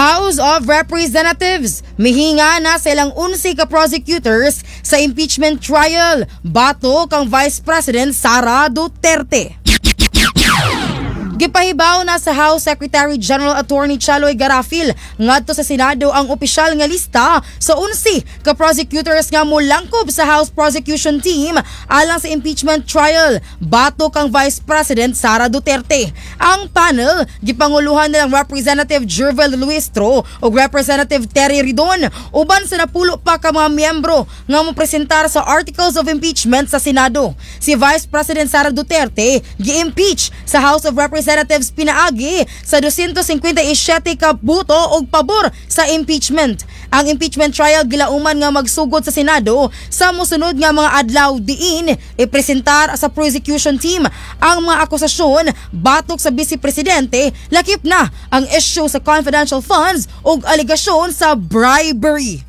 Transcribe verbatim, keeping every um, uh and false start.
House of Representatives mihinga na sa ilang unsi ka prosecutors sa impeachment trial batok kang Vice President Sara Duterte. Gipahibaw na sa House Secretary General Attorney Cheloy Garafil ngadto sa Senado ang opisyal nga lista sa unsi ka prosecutors nga molangkob sa House Prosecution Team alang sa impeachment trial batok kang Vice President Sara Duterte. Ang panel gipanguluhan nilang Representative Gerville Luistro ug Representative Terry Ridon uban sa napulo pa ka mga miyembro nga mopresentar sa articles of impeachment sa Senado. Si Vice President Sara Duterte gi-impeach sa House of Representatives pinaagi sa doscientos singkwenta y siyete ka boto og pabor sa impeachment. Ang impeachment trial gilauman nga magsugod sa Senado sa mosunod nga mga adlaw, diin ipresentar sa prosecution team ang mga akusasyon batok sa Vice Presidente, lakip na ang issue sa confidential funds ug alegasyon sa bribery.